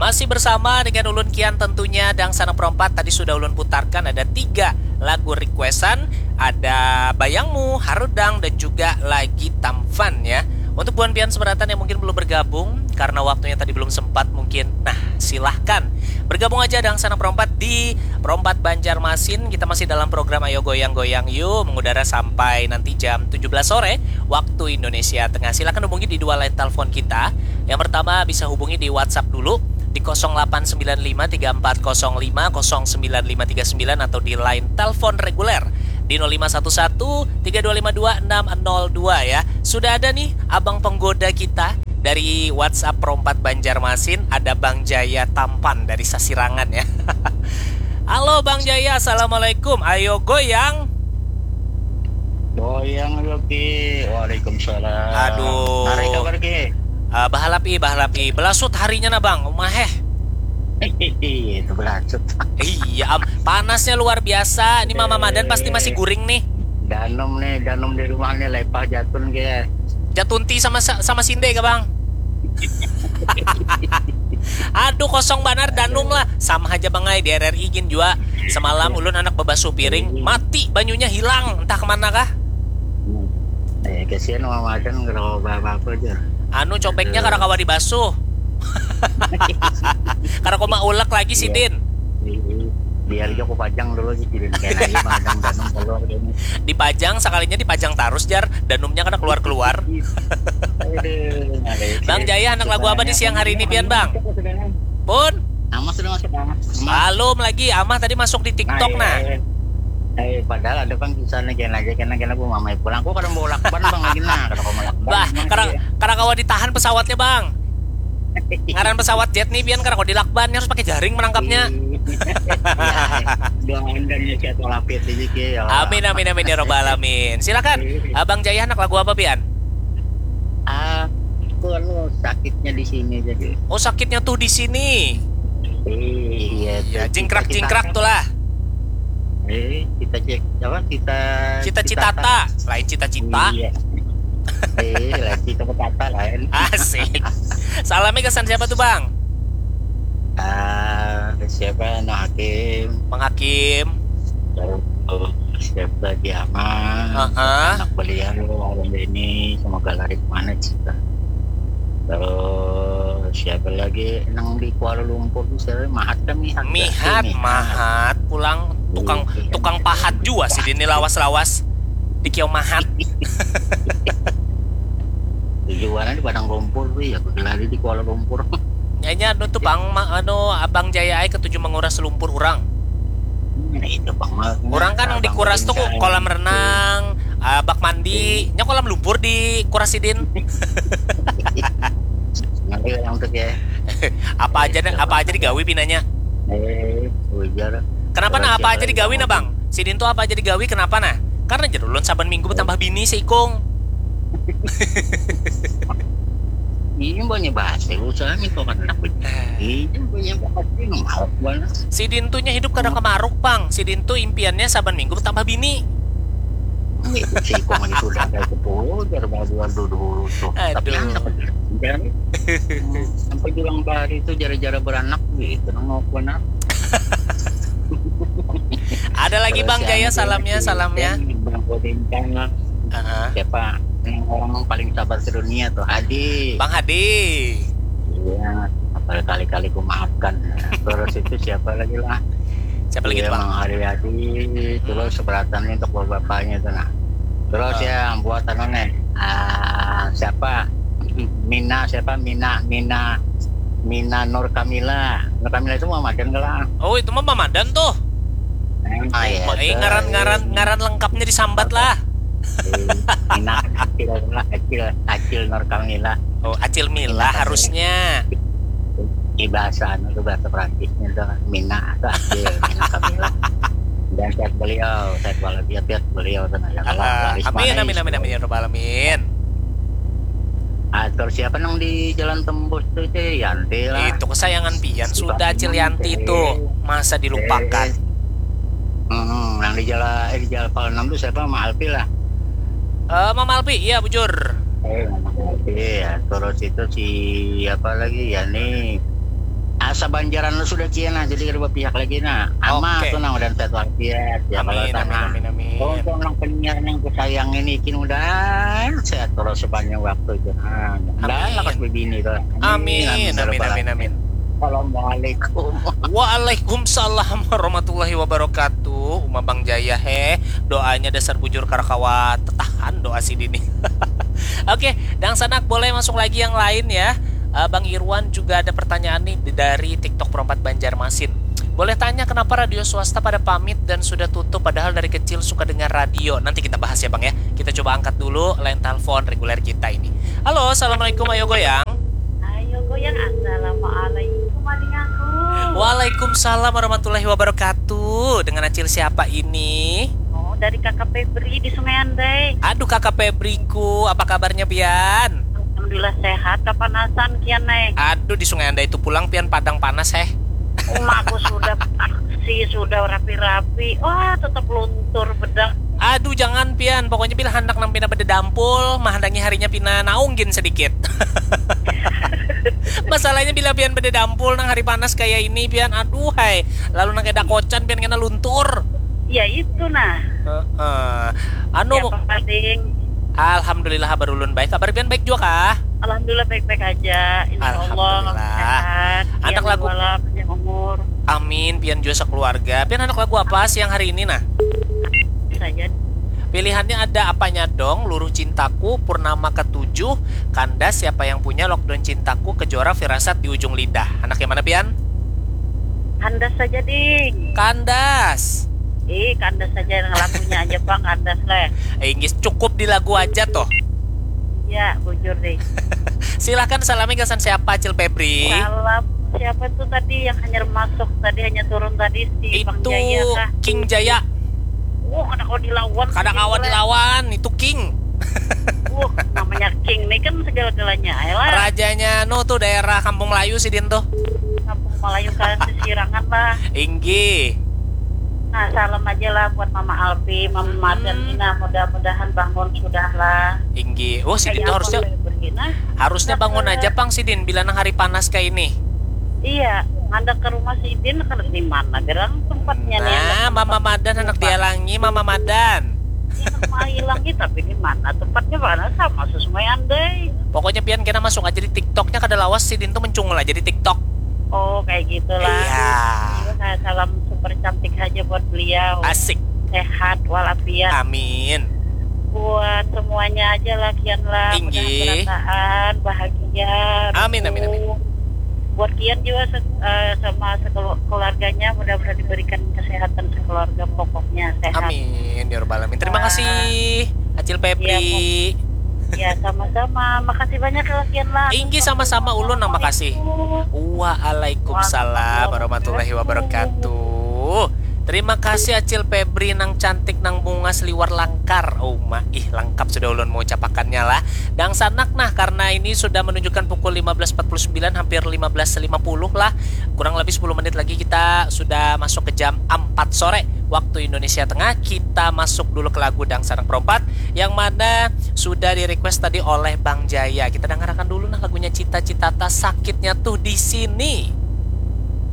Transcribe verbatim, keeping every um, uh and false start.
Masih bersama dengan ulun Kian tentunya, Dangsanak Perompat. Tadi sudah ulun putarkan ada tiga lagu requestan, ada Bayangmu, Harudang, dan juga lagi Tampan ya. Untuk buhan pian seberatan yang mungkin belum bergabung karena waktunya tadi belum sempat mungkin, nah, silahkan bergabung aja Dangsanak Perompat di Perompat Banjarmasin. Kita masih dalam program Ayo Goyang Goyang Yuk, mengudara sampai nanti jam tujuh belas sore waktu Indonesia Tengah. Silahkan hubungi di dua line telepon kita. Yang pertama bisa hubungi di WhatsApp dulu di kosong delapan sembilan lima tiga empat kosong lima kosong sembilan lima tiga sembilan atau di line telepon reguler di nol lima satu satu tiga dua lima dua enam nol dua ya. Sudah ada nih abang penggoda kita dari WhatsApp Perompat Banjarmasin, ada Bang Jaya Tampan dari Sasirangan ya. Halo Bang Jaya, assalamualaikum. Ayo goyang. Goyang dulu Ki. Waalaikumsalam. Aduh. Hari kabar Ki? Ah, bahalap i, bahalap i. Belasut harinya nah bang, umaheh. Itu belasut. Iya, am, panasnya luar biasa. Ini Mama Madan pasti masih guring nih. Danum nih, danum di rumah nih lepah jatun ke. Jatunti sama sama sinde ke bang. Aduh kosong banar danum lah. Sama aja bang ai di R R I gin jua. Semalam ulun anak bebasuh piring, mati banyunya hilang entah kemana kah. Eh, kasihan Mama Madan kalau apa-apa aja. Anu cobeknya kada kawa dibasuh. Kada kawa ulek lagi sidin. Biar aja aku pajang dulu sih, jadi kayak aja madang danum keluar ini. Dipajang, sekalinya dipajang terus jar, danumnya kada keluar-keluar. Aduh, ada Bang Jaya, anak lagu apa di siang hari ini pian bang? Pun? Nama sudah masuk Bang. Belum lagi, Amah tadi masuk di TikTok nah. Eh, padahal ada bang kisahnya kena aja kena kena bu mamai pulang. Aku kadang bawa lakban bang lagi nah, kalau kamu lakban. Bah, kada kada kawa ditahan pesawatnya bang. Ngaran pesawat jet nih pian kada kawa dilakban, harus pakai jaring menangkapnya. Doakan dan sehat walafiat aja Ki ya Allah. Amin amin amin ya robbal alamin. Silakan, Abang Jaya, anak lagu apa pian? Aku anu sakitnya di sini jadi. Oh, sakitnya tuh di sini. Iya. Ya, jingkrak-jingkrak tuh lah. Eh, kita cek apa kita Cita-citata, lain cita-cita. Iya. Eh, lain cita petata lain. Asik. Salamnya kesan siapa tuh bang? Ah, siapa Nah Hakim? Bang Hakim. Terus siapa Diama? Heeh. Anak beliau orang ini semoga lari kemana kita. Terus siapa lagi nang di Kuala Lumpur tuh siapa Mahat kan Mihat. Mihat, Mahat, pulang tukang Iya. tukang pahat jua sih ini lawas-lawas di Kiau Mahat. Tujuannya di Padang Lumpur tuh ya, berlari di Kuala Lumpur. Kayaknya anu tuh bang, ma- anu Abang Jaya ai ketuju menguras lumpur orang. Nah, itu bang. Orang kan yang dikuras tuh kolam renang, ah, bak mandi, nya kolam lumpur dikuras sidin. Nanti orang tuh ya. Apa aja apa aja digawi pinanya. Eh, ujar. Kenapa nah apa aja digawi nah bang? Sidin tuh apa aja digawi kenapa nah? Karena jar ulun saban minggu bertambah bini seikung. Ini banyak bahasa usaha nih kok kan anak ini banyak bahasa ini malak banget. Sidin tuh nya hidup kada kemaruk bang. Sidin tuh impiannya saban minggu bertambah bini. Ini si kong itu udah ada sepuluh jar baru dulu tuh. Tapi Aduh. Anak dan sampai bilang bahari itu jara-jara beranak gitu nang mau anak. Ada lagi Terus bang si Jaya Andi salamnya Bintang, salamnya. Bang Bintang, Heeh. Siapa yang orang paling sabar sedunia tuh Hadi. Bang Hadi. Iya, berkali-kali ku maafkan. Terus itu siapa lagi lah? Siapa lagi Iya, tuh bang? Mang Haryadi. Terus seberatannya untuk bapaknya itu nah. Terus Ah. Ya buat anu nih. Ah, siapa? Mina siapa? Mina Mina Mina Nur Kamila. Nur Kamila itu Muhammadan kalau. Oh itu mah Mamadan tuh. Oh, iya, Eh, itu. ngaran-ngaran ngaran lengkapnya disambat lah. Mina Acil Acil Acil Nur Kamila. Oh Acil Mila harusnya. Di bahasa anu tuh bahasa Prancisnya tuh Mina atau Acil Mina Kamila. Dan sehat beliau, sehat walafiat beliau tuh nah, ya Allah, Ah, laris amin manis. Amin amin amin ya robbal alamin. Ah, terus siapa nang di jalan tembus tuh Cil Yanti lah. Itu kesayangan pian Si sudah Bang Cil Yanti Yanti. Itu masa dilupakan. Eh. Hmm, yang di jalan eh, di jalan Pal enam tuh siapa Mama Alpi lah. Eh Mama Alpi, iya bujur. Eh, Mama Alpi ya. Terus itu si apa lagi ya nih. Asa banjaran lu sudah cia nah, jadi kada bapihak lagi nah. Ama Oke. tu nang udah sehat walafiat ya kalau Amin, amin, sana. Amin, amin. Untung nang penyiar yang kusayang ini kin udah sehat terus sepanjang waktu itu. Nah, dah Amin. lakas bebini tu. Amin, amin, ya amin, rabbal amin, alamin. Amin. Assalamualaikum. Waalaikumsalam warahmatullahi wabarakatuh. Uma Bang Jaya he. Doanya dasar bujur karakawa tetahan doa si dini. Oke, dangsanak boleh masuk lagi yang lain ya. Eh, Bang Irwan juga ada pertanyaan nih di- dari TikTok Perompat Banjarmasin. Boleh tanya kenapa radio swasta pada pamit dan sudah tutup padahal dari kecil suka dengar radio. Nanti kita bahas ya Bang ya. Kita coba angkat dulu line telepon reguler kita ini. Halo, assalamualaikum, ayo goyang. Ayo goyang, assalamualaikum, Aling aku. Waalaikumsalam warahmatullahi wabarakatuh. Dengan Acil siapa ini? Oh, dari Kakak Febri di Sungai Andai. Aduh, Kakak Febriku, apa kabarnya pian? Alhamdulillah sehat, kapanasan kian, Nay. Aduh, di Sungai Andai itu pulang pian padang panas, heh. Umaku sudah aksi, sudah rapi-rapi. Wah, tetap luntur bedak. Aduh, jangan pian. Pokoknya bila handak nang pina bedadampul, mahandangi harinya pina naung gin sedikit. Masalahnya bila pian bedadampul nang hari panas kayak ini, pian, aduh, hai. Lalu nang kena kocan, pian kena luntur. Ya, itu nah. Heeh. Anu, Ya, apa, Ding? Alhamdulillah, kabar ulun baik. Kabar pian baik juga kah? Alhamdulillah, baik-baik aja. Insya Allah, Alhamdulillah. Sehat. Anak Pian lagu wala, panjang umur. Amin, pian juga sekeluarga. Pian anak lagu apa siang hari ini, nah? Saja. Pilihannya ada Apanya Dong, Luruh Cintaku, Purnama Ketujuh, Kandas, Siapa Yang Punya, Lockdown Cintaku, Kejora, Firasat di Ujung Lidah. Anak yang mana, pian? Kandas saja, Ding. Kandas. Ih, kandas saja yang lagunya aja, Bang, kandas leh. Eh, inggih, cukup di lagu aja toh. Ya, bujur deh. Silahkan salami gasan siapa, Acil Febri? Salam siapa tuh tadi yang hanya masuk tadi, hanya turun tadi, si Bang Itu Jaya kah? King Jaya. Oh, kada kawa dilawan Kada sih, kawa boleh. Dilawan, itu King. Uh, namanya King nih kan segala-galanya. Ayolah. Rajanya nu tuh daerah Kampung Melayu sidin tuh. Kampung Melayu kan sesirangan lah. Inggih. Nah, salam aja lah buat Mama Alfi, Mama Madan Hmm. Nina, mudah-mudahan bangun sudah lah. Inggih. Oh, sidin Kayak tuh apa harusnya boleh pergi, nah? harusnya Nah, bangun ke- aja pang sidin bila nang hari panas kayak ini. Iya, handak ke rumah sidin, kan di mana gerang tempatnya nih, Nah, handak ke Mama tempat Madan handak tempat. Dialangi, Mama Madan. Iya, mau hilangi, tapi di mana tempatnya, mana sama sesuai andai. Pokoknya pian kena masuk aja di TikToknya, kada lawas sidin tuh mencungul aja di TikTok. Oh, kayak gitulah. Iya. Iya, salam super cantik aja buat beliau. Asik. Sehat walafiat. Amin. Buat semuanya aja lah, Kian lah. Inggih. Mudah-mudahan berataan, bahagia, Amin, amin, amin. Rukun. Buat Kian juga se- eh, sama sekelu- keluarganya, mudah-mudahan diberikan kesehatan sekeluarga, pokoknya sehat. Amin, ya rabbal alamin. Terima Wah. kasih, Acil Febri. Iya, Ya, sama-sama. Makasih banyak ya, Kian lah. Inggih, sama-sama, ulun nang makasih. Assalamualaikum. Waalaikumsalam warahmatullahi wabarakatuh. Terima kasih Acil Febri nang cantik, nang bungas liwar langkar. Oh, ma, ih, lengkap sudah ulun mengucapakannya lah. Dangsanak nah, karena ini sudah menunjukkan pukul lima belas empat puluh sembilan, hampir lima belas lima puluh lah. Kurang lebih sepuluh menit lagi kita sudah masuk ke jam empat sore waktu Indonesia Tengah. Kita masuk dulu ke lagu Dangsanak Perompat yang mana sudah di-request tadi oleh Bang Jaya. Kita dengarkan dulu nah lagunya Cita Citata, Sakitnya Tuh di Sini.